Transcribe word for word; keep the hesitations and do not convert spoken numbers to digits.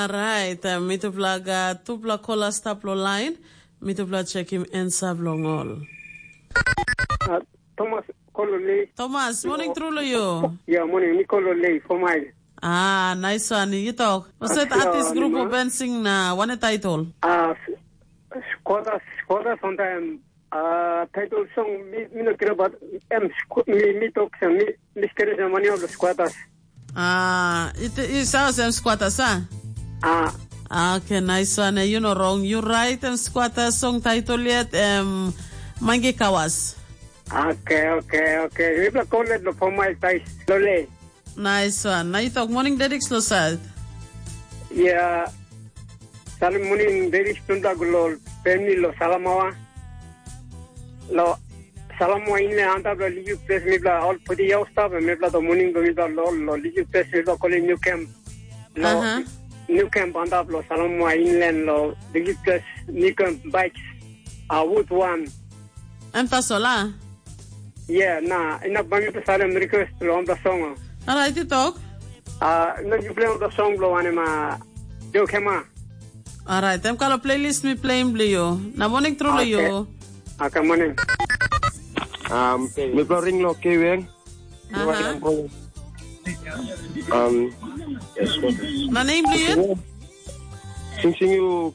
Orait, mitupela gat tupela kola stap long lain, mitupela chekim ansa bilong ol. Thomas Kololi. Thomas, morning tru long yu. Ya, morning, mi Kololi, four mile. Ah, nice one. Yu tok. Waset artist grup o ben sing na wane title? Ah, Squatters, Squatters on time. Ah, title song mi mi no kira bat em mi mi tok sa mi mi skere sa mani of the Squatters. Ah, it is house em squatters, ah? Ah. Ah, okay, nice one. You know wrong. You right em squatters song title yet em Mangi Kawas. Okay, okay, okay. Mipela kolet lo poma i tais lole. Nice one. Na you talk morning dedics lo side. Ya. Salim morning dedics tunda gulo pemni lo salamawa. Lo salamawa inle antap lo liu ples mipela ol pudi yau stap mipela to morning go mipela lo lo liu ples mipela kolim new camp. Lo new camp antap lo salamawa inland lo liu ples new camp bikes. A wood one. Em tasol a? Ia, na inap bai mipela salim request long wanpela song. Orait i tok. Ah, na yupela wanpela song bilong wanem a Joe Kema. Orait, em kalo playlist mi playim bilong yu. Na morning tru long yu. Aka morning. Um, mipela ring lo Keweng. Aha. Um, Na name bilong yu? Sing sing yu